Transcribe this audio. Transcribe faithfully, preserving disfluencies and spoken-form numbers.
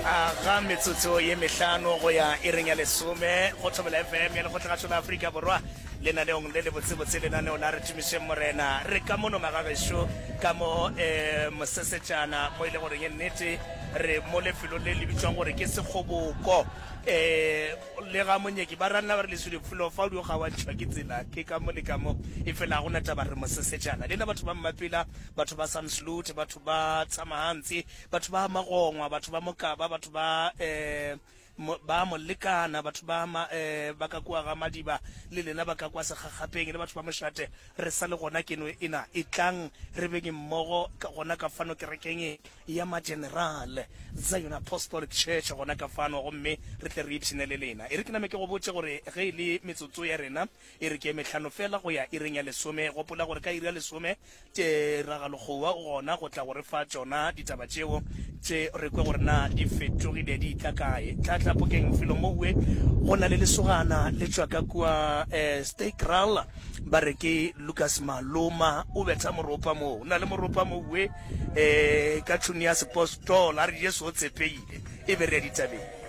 Aga metsotso ye mehlano go ya iring ya lesome go Thobela F M ya Lekgotlagašo la Afrika Borwa, lenaneong le lebotsebotse, lenaneo la Re Tumišeng Morena. Re ka mono magagešo ka mo um mosesetšana mo e le goreng e nnete re mo lefelong le le bitšwang gore ke Sekgoboko, um le ga Monyeki ba ranna ba re leswele felo fa o di o kgaoantšhwa ke tsela ke ka mo le ka mo, e fela ga gona taba, re mosesetšana. Lena batho ba Mmapela, batho ba Sansloot, batho ba Tshamahantsi, batho ba Magongwa, batho ba Mokaba, batho ba um ba Molekana, batho ba ma, eh, ba ka kua ga Madiba, le lena ba ka kwa Sekgakgapeng le batho ba Mošate, re sa le gona keno ena. E tlang re beng mmogo ka gona ka fano kerekeng ya Mageneral Zion Apostolic Church gona ka fano, gomme re tle re ipshine le lena. E re ke name ke go botše gore ge e le metsotso ya rena e re ke mehlano fela go ya ireng ya lesome. Gopola gore ka iri ya lesome teragalokgowa o gona go tla go re fa tšona ditaba tšeo tše re kwe gore na di fetogile di tla kae. Tlatlapokeng felo mowe go na le lesogana le tšwa ka kua um Staykraal, ba re ke Lucas Maloma, o betha moropa moo, o na le moropa mowe um ka tšhuni ya sepostola, a re Jesu o tshepeile. E be re ya ditabeng.